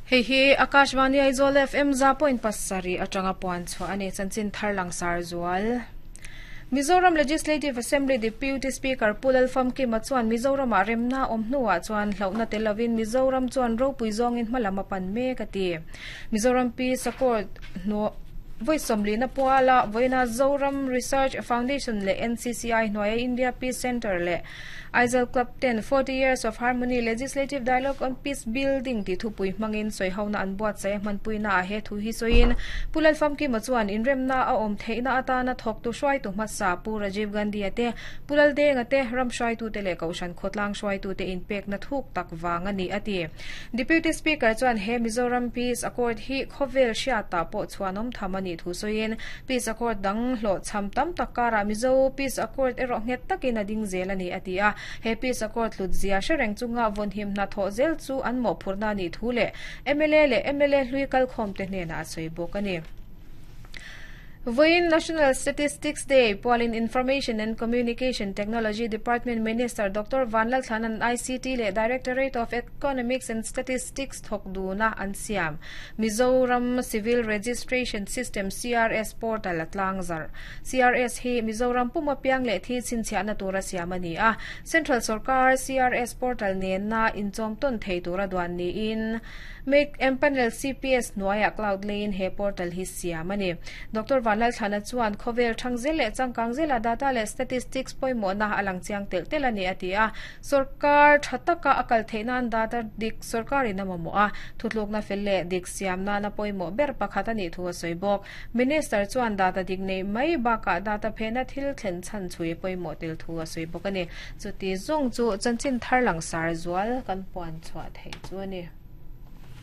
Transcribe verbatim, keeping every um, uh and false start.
Hei hi Akashvani Aizawl F M za point pasarih atanga puan chhuah ani. Chanchin thar langsar zual. Mizoram Legislative Assembly Deputy Speaker Pu Lalfamkima chuan Mizoram ah remna awm hnuah chuan hlauhna tel lovin Mizoram chuan ropui zawngin hmalam a pan mek a ti. Mizoram Peace Accord hnu voi sawmlina puala voina Zoram Research Foundation leh N C C I hnuaia India Peace Center leh Aizawl Club ten forty Years of Harmony: Legislative Dialogue on Peace Building ti thupui hmangin sawihona an buatsaih a hmanpuina a he thu hi sawiin Pu Lalfamkima chuan inremna a awm theihna atana thawktu hruaitu hmasa Pu Rajiv Gandhi a te, Pu Laldenga te, ram hruaitu te leh kohhran khawtlang hruaitu te inpekna thuk tak wang ani a ti. Deputy Speaker chuan he Mizoram Peace Accord hi khawvel hriata pawh chuan tham ani thu sawiin Peace Accord dang hlawh cham tam tak kara Mizo Peace Accord erawh nghet takin a ding zel ani a ti a. He Peace Accord hlut zia hre reng chunga vawnhim hna thawh zel chu an mawhphurhna ni thu leh M L A leh M L A hlui kal khawm te hnenah a sawi bawk ani. Voin National Statistics Day pualin Information and Communication Technology Department Minister Doctor Vanlalthlana'n I C T leh Directorate of Economics and Statistics thawk duna an siam Mizoram Civil Registration System C R S portal a tlangzarh. C R S hi Mizoram puma piang leh thi chhinchhiahna tura siam ani a. Central Sarkar C R S portal nen na inchawm tawn thei tura duan niin Make Empanel C P S hnuaiah cloud lane he portal hi siam ani. Doctor Vanlalthlana chuan khawvel thangzel leh changkang zela data leh statistics pawimawhna alang chiang tel tel ani a ti a. Sarkar thataka akal theihnan data dik sarkarin a mamawh a, thutlukna fel leh dik siam nana pawimawh ber pakhat ani thu a sawi bawk. Minister chuan data dik nei mai bakah data phena thil thlen chan chui pawimawh tel thu a sawi bawk ani. Chuti zawng chu chanchin thar langsar zual kan puan chhuah thei chu ani.